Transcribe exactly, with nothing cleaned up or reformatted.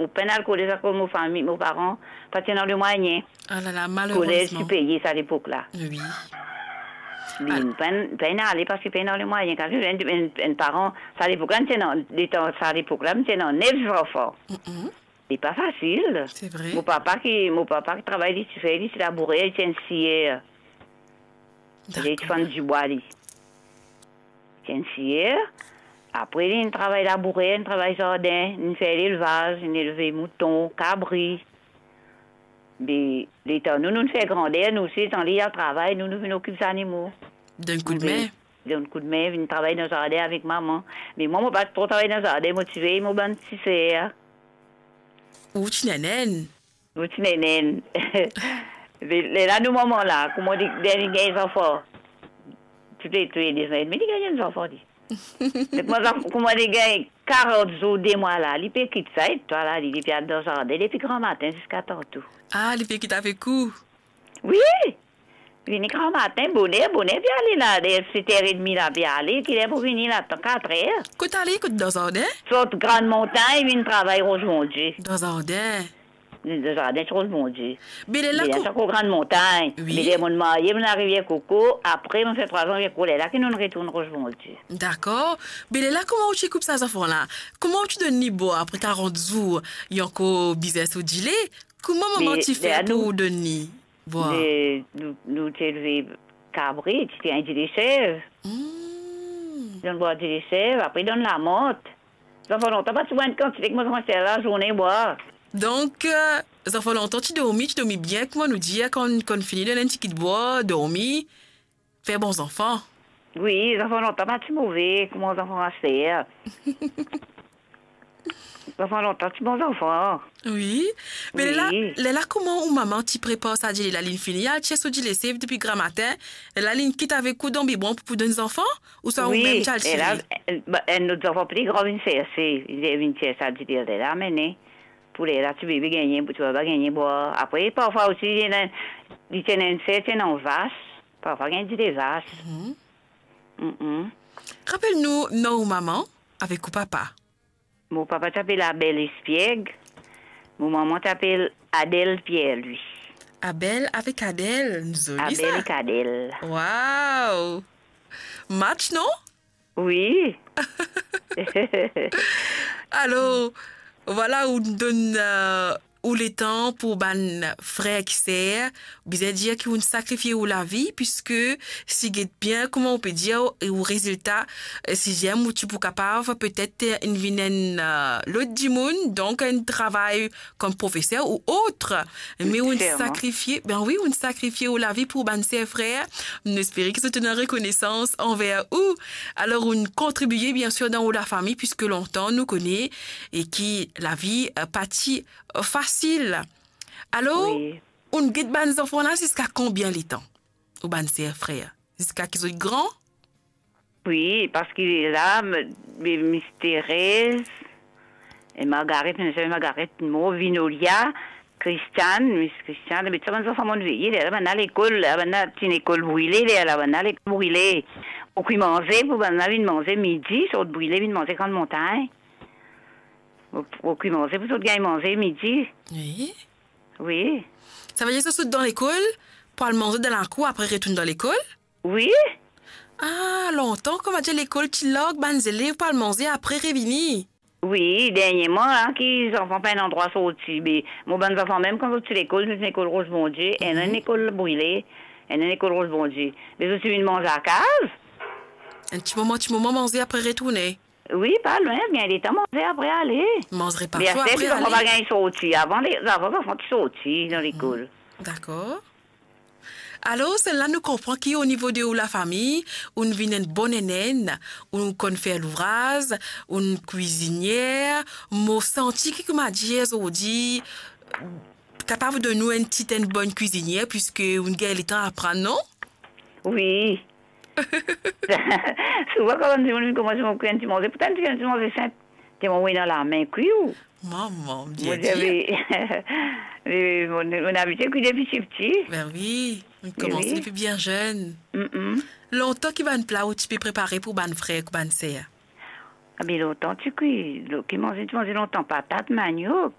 Mo pa'nn al kolez akoz mo fami, mo paran pa ti ena lemwayin. Ah la la, kolez ti peye sa lepok la. Wi. Li, ah, pa'nn, pa'nn ale parski pa'nn ena lemwayin. Kan enn, enn, enn paran, sa lepok la, nou ti ena, letan sa lepok la, nou ti ena nef zanfan. Mm-mm. Li pa fasil. Se vre. Mo papa ki, mo papa ki travay, li ti fer, li ti labourer, li ti enn siyer. Li ti fann dibwa, li. Ti enn siyer. Apre, li travay labourer, li travay zardin, li fer lelvaz, li elve mouton, kabri. Be, letan nou, nou fer grander, nou osi, letan li al travay, nou, nou vinn okip zanimo. Donn koudme. Donn koudme, vinn travay dan zardin avek mama. Me mwa, mo pa tro travay dan zardin, mo ti vey mo bann ti ser. Ou ti nene? Mo ti nene. Me lerla nou mama la, kouma li, li gagn zanfan. Tou le, tou le de zanfan, me li gagn enn zanfan, li. Donk, mo zanf-, kouma li gagn karant zour, de mwa la, li pe kit sa, e twa la, li, li pe al dan zardin, depi gramatin ziska tanto. Ah, li pe kit avek ou? Wi! Vini gramatin, boner, boner, pe ale la, ler set er edmi la, pe ale, ki ler pou vini la, tan kat er. Kot ale, kot dan zardin? Sort Grann Montagn, vinn travay Ros Bondie. Dan zardin? Dan zardin, Ros Bondie. Be lerla, be lerla, ko-, sa ankor Grann Montagn. Wi. Be ler monn marye, monn Larivier Koko, apre, monn fer trwa zan Larivier Koko, lerla ki nou'nn retourn Ros Bondie. Dakor. Be lerla, kouma ou ti koup sa zanfan la? Kouma ou ti donn li bwar apre karant zour, li ankor bizin so dile? Kouma mama ti fer pou donn li bwar? Me, lerla nou, nou, nou ti elve kabri, ti gagn dile sev. Hmm. Donn bwar dile sev, apre donn lamant. Zanfan lontan pa ti bwar enn kantite kouma zanfan ser lazourne bwar. Donk, eh, zanfan lontan ti dormi, ti dormi bien, kouma nou dir, kan, kan fini, donn enn ti kit bwar, dormi. Fer bon zanfan. Wi, zanfan lontan pa ti move kouma zanfan aster. Zanfan lontan ti bon zanfan. Wi. Me lerla, wi, lerla kouma ou mama ti prepar sa dile la, li'nn fini al tir so dile sev depi gramatin, lerla li'nn kit avek ou dan bibwon pou, pou donn zanfan? Ouswa ou mem ti al tire? Wi, lerla, eh, ba, enn lot zanfan pli gran vinn serse, li vinn tir sa dile la, amenn. Pou lerla ti bebe gagn, pou ti baba gagn bwar. Apre, parfwa osi, li ena, li ti ena enn ser, ti ena vas. Parfwa gagn dile vas. Mhm. Mm-mm. Rapel nou non ou mama avek ou papa. Mo papa ti apel Abel Espièg, mo mama ti apel Adèle Pierre-Louis. Abel avek Adèle, zoli sa. Abel ek Adèle. Wow! Match, non? Wi. Alor, vwala, ou donn, eh, ou letan pou bann frer ek ser, bizin dir ki ou'nn sakrifie ou lavi, piske si get bien, kouma ou pe dir, ou rezilta, eh, si zame ou ti pou kapav, petet, eh, inn vinn enn, eh, lot dimoun, donk enn travay kom profeser ou ot. Me ou'nn sakrifie, be wi, ou'nn sakrifie ou lavi pou bann ser frer. Nou espere ki zot ena rekonesans anver ou. Alor, ou'nn kontribie, biensir, dan ou lafami, piske lontan nou kone e ki lavi, eh, pa ti, eh, fasil. Alor, wi, ou'nn get bann zanfan la ziska konbien letan? Ou bann ser frer? Ziska ki zot gran? Wi, parski la, m-, m-, Miss Thérèse, e Margaret, Miss Margaret mor, Vinolia, Christiane, Miss Christiane, me sa bann zanfan mo'nn veye, lerla bann la lekol, la bann la ti lekol Brile, lerla bann la lekol Brile. Pou kwi manze, pou bann la vinn manze midi, sort Brile vinn manze Grann Montagn. Pou, pou kwi manze, pou zot gagn manze midi. Wi. Wi. Savedir zot sot dan lekol, pou al manze dan lakour, apre retourn dan lekol? Wi. Ah, lontan, kouma dir, lekol ti larg bann zelev pou al manze, apre revini. Wi, derniereman la, ki zanfan pa ena drwa sorti, be, mo bann zanfan mem, kan zot ti lekol, zot ti lekol Ros Bondie, ena enn lekol Brile, ena enn lekol Ros Bondie. Be zot ti vinn manze lakaz. Enn ti moman, ti moman manze, apre retourne. Wi, pa lwin, gagn letan manze, apre ale. Manz repa so, apre ale. Me aster, zanfan pa gagn sorti. Avan, le-, avan, zanfan ti sorti dan lekol. Dakor. Alor, se la nou konpran ki o nivo de ou lafami, ou'nn vinn enn bon nene, ou'nn konn fer louvraz, ou'nn kwizinier, mo santi ki, kouma dir, zordi, kapav donn nou enn tit enn bonn kwizinier, piske ou'nn gagn letan aprann, non? Wi. Souvan, kan bann dimoun vinn koumans, mo kwi enn ti manze, poutan ti enn ti manze sinp, telman mo ena lame kwi ou. Mama, mo dir, Bondie, Bondie. Wi, wi, mo, mo abitie kwi depi tipti. Be wi, ou koumans depi bien zenn. Mm-mm. Lontan, ki bann pla ou ti pe prepare pou bann frer ek bann ser? Abe, lontan ti kwi, lo-, ki manze, ti manze lontan, patat, maniok.